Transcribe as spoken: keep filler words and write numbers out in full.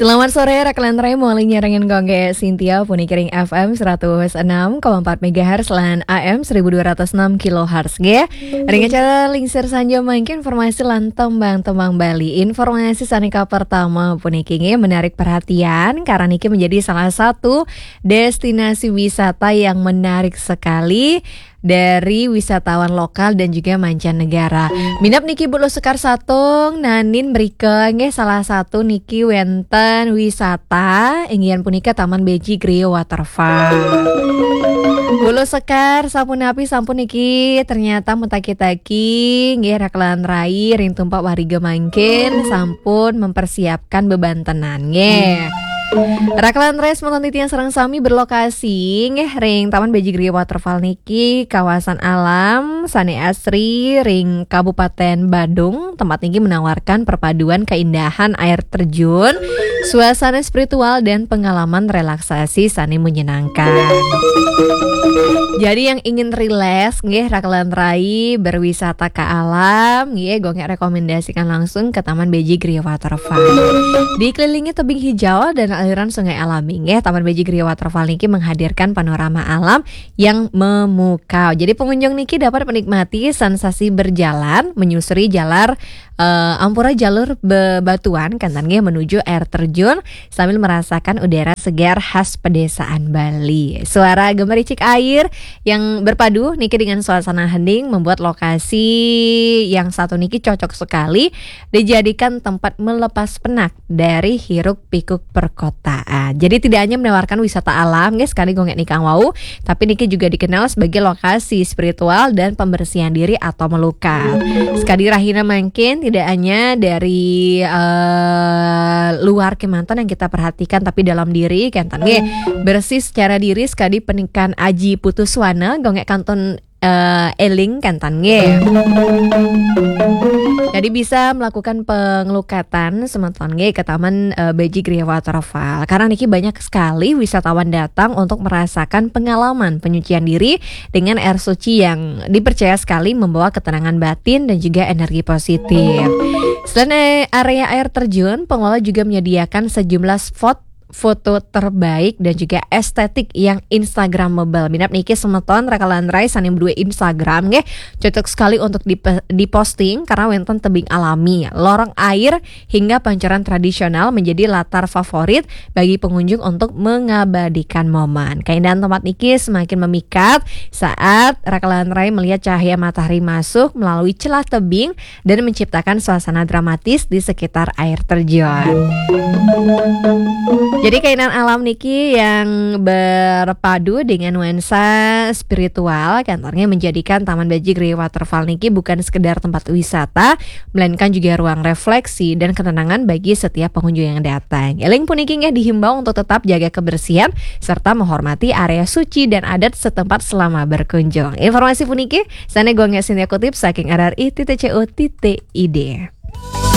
Selamat sore, Raklan Rai, mawali nyarengin Gongge Sintia, puniki ring F M seratus enam koma empat megahertz lan A M seribu dua ratus enam kilohertz, nggih. Ring acara Lingsir Sanja mangkin informasi lan tembang-tembang Bali. Informasi sane kapertama puniki nggih menarik perhatian, karena niki menjadi salah satu destinasi wisata yang menarik sekali dari wisatawan lokal dan juga mancanegara. Minab niki Bulu Sekar Satung, nanin mrika nggih salah satu niki wenten wisata, inggih punika Taman Beji Griya Waterfall. Bulu Sekar, sapunapi sampun niki ternyata metaki-taki nggih Raklan Rai ring tumpak wariga mangkin sampun mempersiapkan bebantenan nggih. Raklan Rai semeton titiang sareng sami berlokasi nggih ring Taman Beji Griya Waterfall niki, kawasan alam sane asri ring Kabupaten Badung. Tempat niki menawarkan perpaduan keindahan air terjun, suasana spiritual, dan pengalaman relaksasi sane menyenangkan. Jadi yang ingin rileks nggih Raklan Rai, berwisata ke alam nggih, Gongge rekomendasikan langsung ke Taman Beji Griya Waterfall. Dikelilingi tebing hijau dan aliran sungai alami nggih, Taman Beji Griya Waterfall niki menghadirkan panorama alam yang memukau. Jadi pengunjung niki dapat menikmati sensasi berjalan menyusuri jalar eh, ampura jalur bebatuan, kenten nggih, menuju air terjun sambil merasakan udara segar khas pedesaan Bali. Suara gemericik air yang berpadu niki dengan suasana hening membuat lokasi yang satu niki cocok sekali dijadikan tempat melepas penat dari hiruk pikuk perkotaan. Jadi tidak hanya menawarkan wisata alam, guys, sekali Gongge nikang wau, tapi niki juga dikenal sebagai lokasi spiritual dan pembersihan diri atau melukat. Sekali rahina mangkin tidak hanya dari eh, luar kemanten yang kita perhatikan, tapi dalam diri kenten nggih, bersih secara diri sekali penikan Aji Putuswana, Gongge kantun eh, eling kenten nggih. Jadi bisa melakukan pengelukatan semeton nggih ke Taman eh, Beji Griya Waterfall. Karena niki banyak sekali wisatawan datang untuk merasakan pengalaman penyucian diri dengan air suci yang dipercaya sekali membawa ketenangan batin dan juga energi positif. Selain eh, area air terjun, pengelola juga menyediakan sejumlah spot foto terbaik dan juga estetik yang instagramable. Minab niki semeton Raklan Rai sane duwe Instagram nggih, cocok sekali untuk dipe- diposting karena wenten tebing alami, lorong air, hingga pancoran tradisional menjadi latar favorit bagi pengunjung untuk mengabadikan momen. Keindahan tempat niki semakin memikat saat Raklan Rai melihat cahaya matahari masuk melalui celah tebing dan menciptakan suasana dramatis di sekitar air terjun. Jadi keindahan alam niki yang berpadu dengan nuansa spiritual, kenten nggih, menjadikan Taman Beji Griya Waterfall niki bukan sekedar tempat wisata, melainkan juga ruang refleksi dan ketenangan bagi setiap pengunjung yang datang. Eling puniki nggih dihimbau untuk tetap jaga kebersihan serta menghormati area suci dan adat setempat selama berkunjung. Informasi puniki sane Gongge Sintia kutip saking R R I titik C O titik I D.